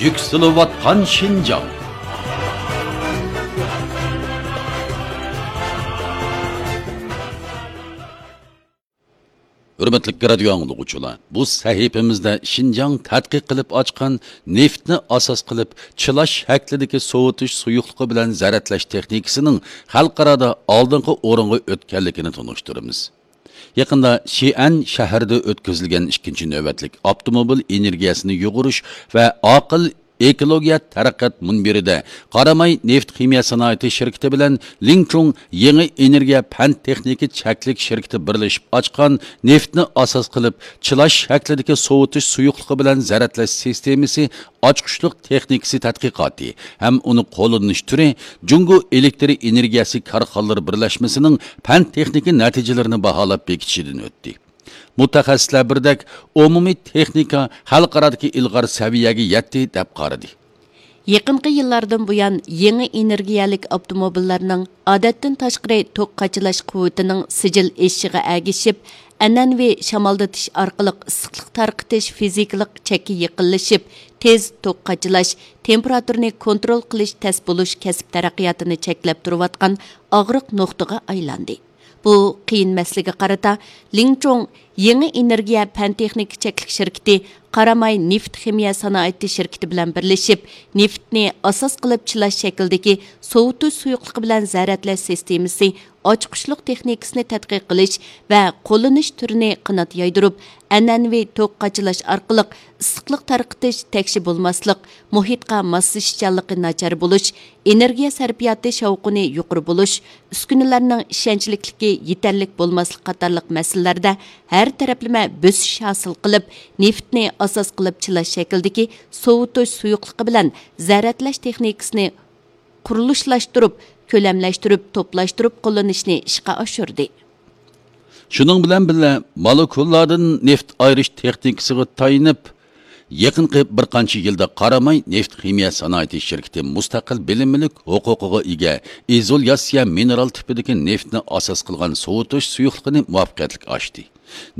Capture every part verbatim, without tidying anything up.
يۈكسىلىۋاتقان شىنجاڭ. ھۆرمەتلىك رادىيو ئاڭلىغۇچىلار، بۇ سەھىپىمىزدە شىنجاڭ تەتقىق قىلىپ ئاچقان نېفىتنى ئاساس قىلىپ چىلاش شەكلىدىكى سوۋۇتۇش سۇيۇقلۇقى بىلەن زەرەتلەش تېخنىكىسىنىڭ خەلقئارادا ئالدىنقى ئورۇنغا ئۆتكەنلىكىنى تونۇشتۇرىمىز. يېقىندا شىئەن شەھىرىدە ئۆتكۈزۈلگەن ئىككىنچى نۆۋەتلىك ئاپتوموبىل ئېنېرگىيەسىنى يۇغۇرۇش ۋە ئاقىل ئېكولوگىيە تەرەققىيات مۇنبىرىدە قاراماي نېفىت خىمىيە سانائىتى شىركىتى بىلەن لىڭچۇڭ يېڭى ئېنېرگىيە پەن تېخنىكا چەكلىك شىركىتى بىرلىشىپ ئاچقان نېفىتنى ئاساس قىلىپ چىلاش شەكلىدىكى سوۋۇتۇش سۇيۇقلۇقى بىلەن زەرەتلەش سىستېمىسى ئاچقۇچلۇق تېخنىكىسى تەتقىقاتى ھەم ئۇنى قوللىنىش تۈرى جۇڭگو ئېلېكتر ئېنېرگىيەسى كارخانىلىرى بىرلەشمىسىنىڭ پەن تېخنىكا نەتىجىلىرىنى باھالاپ بېكىتىشىدىن ئۆتتى. مۇتەخەسسىسلەر بىردەك، ئومۇمىي تېخنىكا خەلقئارادىكى ئىلغار سەۋىيەگە يەتتى، دەپ قارىدى. يېقىنقى يىللاردىن بۇيان، يېڭى ئېنېرگىيەلىك ئاپتوموبىللارنىڭ ئادەتتىن تاشقىرى توك قاچىلاش قۇۋۋىتىنىڭ سىجىل ئېشىشىغا ئەگىشىپ، ئەنئەنىۋى شامالدىتىش ئارقىلىق ئىسسىقلىق تارقىتىش فىزىكىلىق چەككە يېقىنلىشىپ، تېز توك قاچىلاش، تېمپېراتۇرىنى كونترول قىلىش تەس بولۇش كەسىپ تەرەققىياتىنى چەكلەپ تۇرۇۋاتقان ئاغرىق نۇقتىغا ئايلاندى. بۇ قىيىن مەسىلىگە قارىتا، لىڭچۇڭ يېڭى ئېنېرگىيە پەن تېخنىكا چەكلىك شىركىتى قاراماي نېفىت خىمىيە سانائىتى شىركىتى بىلەن بىرلىشىپ، نېفىتنى ئاساس قىلىپ چىلاش شەكلىدىكى سوۋۇتۇش سۇيۇقلۇقى بىلەن زەرەتلەش سىستېمىسى ئاچقۇچلۇق تېخنىكىسىنى تەتقىق قىلىش ۋە قوللىنىش تۈرىنى قانات يايدۇرۇپ، ئەنئەنىۋى توك قاچىلاش ئارقىلىق ئىسسىقلىق تارقىتىش تەكشى بولماسلىق، مۇھىتقا ماسلىشىشچانلىقى ناچار بولۇش، ئېنېرگىيە سەرپىياتى شاۋقۇنى يۇقىرى بولۇش، ئۈسكۈنىلەرنىڭ ئىشەنچلىكلىكى يېتەرلىك بولماسلىق قاتارلىق مەسىلىلەردە ھەر تەرەپلىمە بۆسۈش ھاسىل قىلىپ، نېفىتنى ئاساس قىلىپ چىلاش شەكلىدىكى سوۋۇتۇش سۇيۇقلۇقى بىلەن زەرەتلەش تېخنىكىسىنى قۇرۇلۇشلاشتۇرۇپ، كۆلەملەشتۈرۈپ، توپلاشتۇرۇپ قوللىنىشنى ئىشقا ئاشۇردى. شۇنىڭ بىلەن بىللە، مولېكۇللاردىن نېفىت ئايرىش تېخنىكىسىغا تايىنىپ، يېقىنقى بىر قانچە يىلدا قاراماي نېفىت خىمىيە سانائىتى شىركىتى مۇستەقىل بىلىنمىلىك ھوقۇقىغا ئىگە ئىزولياتسىيە مىنېرال تىپىدىكى نېفىتنى ئاساس قىلغان سوۋۇتۇش سۇيۇقلۇقىنى مۇۋەپپەقىيەتلىك ئاچتى.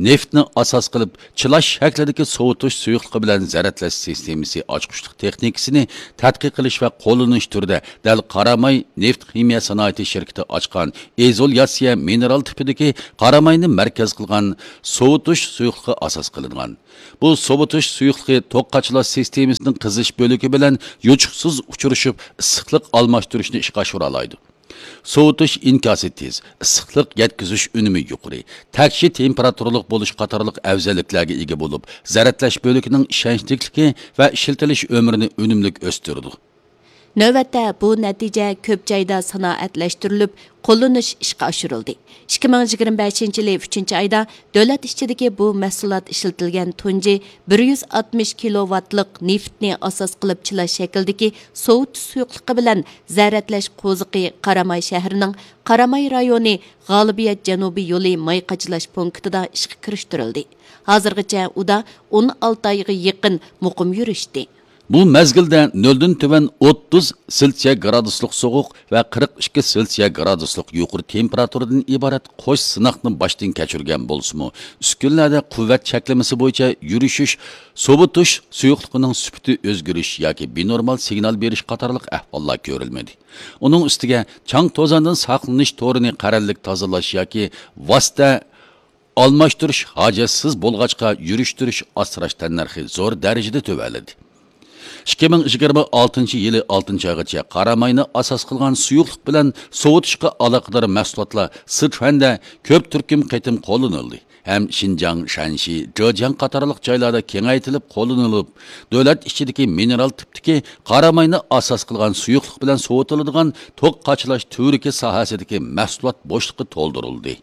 نېفىتنى ئاساس قىلىپ چىلاش شەكلىدىكى سوۋۇتۇش سۇيۇقلۇقى بىلەن زەرەتلەش سىستېمىسى ئاچقۇچلۇق تېخنىكىسىنى تەتقىق قىلىش ۋە قوللىنىش تۈرىدە دەل قاراماي نېفىت خىمىيە سانائىتى شىركىتى ئاچقان ئىزولياتسىيە مىنېرال تىپىدىكى قاراماينى مەركەز قىلغان سوۋۇتۇش سۇيۇقلۇقى ئاساس قىلىنغان. بۇ سوۋۇتۇش سۇيۇقلۇقى توك قاچىلاش سىستېمىسىنىڭ قىزىش بۆلىكى بىلەن يوچۇقسىز ئۇچرىشىپ، ئىسسىقلىق ئالماشتۇرۇشنى ئىشقا ئاشۇرالايدۇ. سوۋۇتۇش ئىنكاسى تېز، ئىسسىقلىق يەتكۈزۈش ئۈنۈمى يۇقىرى، تەكشى تېمپېراتۇرىلىق بولۇش قاتارلىق ئەۋزەللىكلەرگە ئىگە بولۇپ، زەرەتلەش بۆلىكىنىڭ ئىشەنچلىكلىكى ۋە ئىشلىتىلىش ئۆمرىنى ئۈنۈملۈك ئۆستۈرىدۇ. نۆۋەتتە بۇ نەتىجە كۆپ جايدا سانائەتلەشتۈرۈلۈپ، قوللىنىش ئىشقا ئاشۇرۇلدى. ئىككى مىڭ يىگىرمە بەشىنچى يىلى ئۈچىنچى ئايدا دۆلەت ئىچىدىكى بۇ مەھسۇلات ئىشلىتىلگەن تۇنجى بىر يۈز ئاتمىش كىلوۋاتلىق نېفىتنى ئاساس قىلىپ چىلاش شەكلىدىكى سوۋۇتۇش سۇيۇقلۇقى بىلەن زەرەتلەش قوزۇقى قاراماي شەھىرىنىڭ قاراماي رايونى غالىبىيەت جەنۇبىي يولى ماي قاچىلاش پونكىتىدا ئىشقا كىرىشتۈرۈلدى. ھازىرغىچە ئۇدا ئون ئالتە ئايغا يېقىن مۇقىم يۈرۈشتى. بۇ مەزگىلدە نۆلدىن تۆۋەن ئوتتۇز سېلسىيە گرادۇسلۇق سوغۇق ۋە قىرىق ئىككى سېلسىيە گرادۇسلۇق يۇقىرى تېمپېراتۇرىدىن ئىبارەت قوش سىناقنى باشتىن كەچۈرگەن بولسىمۇ، ئۈسكۈنىلەردە قۇۋۋەت چەكلىمىسى بويىچە يۈرۈشۈش، سوۋۇتۇش سۇيۇقلۇقىنىڭ سۈپىتى ئۆزگىرىش ياكى بىنورمال سىگنال بېرىش قاتارلىق ئەھۋاللار كۆرۈلمىدى. ئۇنىڭ ئۈستىگە چاڭ توزاندىن ساقلىنىش تورىنى قەرەللىك تازىلاش ياكى ۋاسىتە ئالماشتۇرۇش ھاجەتسىز بولغاچقا، يۈرۈشتۈرۈش ئاسراش تەننەرخى زور دەرىجىدە تۆۋەنلىدى. ئىككى مىڭ يىگىرمە ئالتىنچى يىلى ئالتىنچى ئايغىچە قاراماينى ئاساس قىلغان سۇيۇقلۇق بىلەن سوۋۇتۇشقا ئالاقىدار مەھسۇلاتلار سىچۈەندە كۆپ تۈركۈم قېتىم قوللىنىلدى ھەم شىنجاڭ، شەنشى، جېجياڭ قاتارلىق جايلاردا كېڭەيتىلىپ قوللىنىلىپ، دۆلەت ئىچىدىكى مىنېرال تىپتىكى قاراماينى ئاساس قىلغان سۇيۇقلۇق بىلەن سوۋۇتۇلىدىغان توك قاچىلاش تۈۋرۈكى ساھەسىدىكى مەھسۇلات بوشلۇقى تولدۇرۇلدى.